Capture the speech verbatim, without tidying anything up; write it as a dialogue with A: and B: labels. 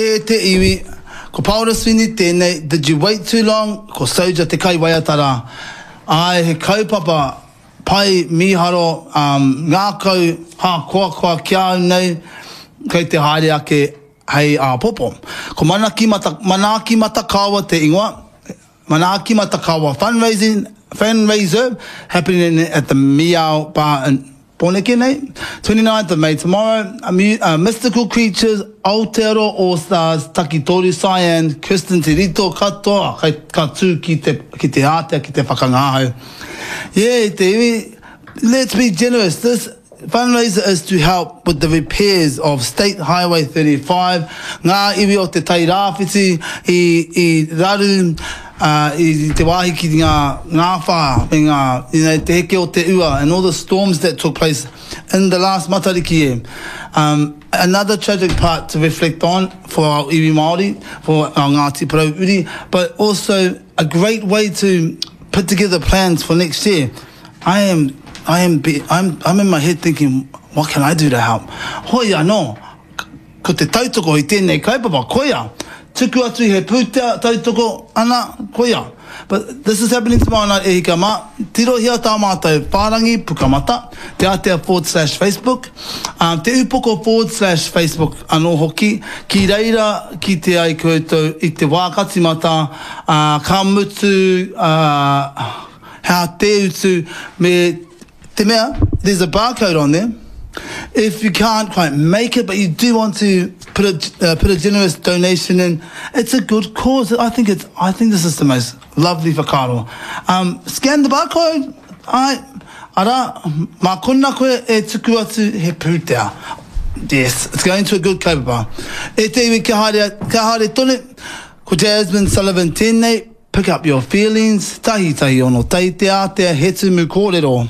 A: E te iwi, ko Paora Sweeney tēnei, Did You Wait Too Long, ko Soja te kaiwaiata rā. Āe, he kaupapa pai, mīharo, um, ngākau hākoakoa ki a au nei, kei te haere ake hei āpōpō. Ko Manaaki Mata, Manaaki Matakawa te ingoa, Manaaki Matakawa Fundraising, Fundraiser, happening at the Meow Bar in Pōneke nei, twenty-ninth of May tomorrow, uh, uh, Mystical Creatures, Aotearoa All Stars, Takitoru Cyan, Kirsten Te Rito, katoa, kai, ka tū ki te, ki te ātea, ki te whakangahau. Yeah, te iwi, let's be generous. This fundraiser is to help with the repairs of State Highway thirty-five, ngā iwi o te Tai Rāwhiti i, i raru, uh, i te wāhi ki ngā ngāwhā me ngā, you know, te heke o te ua and all the storms that took place in the last Matariki year. Um, another tragic part to reflect on for our iwi Māori, for our Ngāti Porou uri, but also a great way to put together plans for next year. I am, I am, be, I'm, I'm in my head thinking, what can I do to help? Hoi anō, ko te tautoko i tēnei kaupapa, koia. Tuku atu he pūtea tautoko ana, koia. But this is happening tomorrow night, e hika mā. Tirohia tā mātou whārangi pukamata, te atea forward slash Facebook, um, te upoko forward slash Facebook anō hoki, ki reira ki te ai koutou i te wā ka timata, uh, ka mutu, uh, hea te utu, me te mea, there's a barcode on there. If you can't quite make it, but you do want to put a, uh, put a generous donation in, it's a good cause. I think it's, I think this is the most lovely whakaaro. Um, scan the barcode. Ai, ara, mā kona koe e tuku atu he pūtea. Yes, it's going to a good kaupapa. E te iwi kia haere, kia haere tonu, ko Jasmine Sullivan tēnei, Pick Up Your Feelings, tahi tahi ono tai te ātea he tumu kōrero.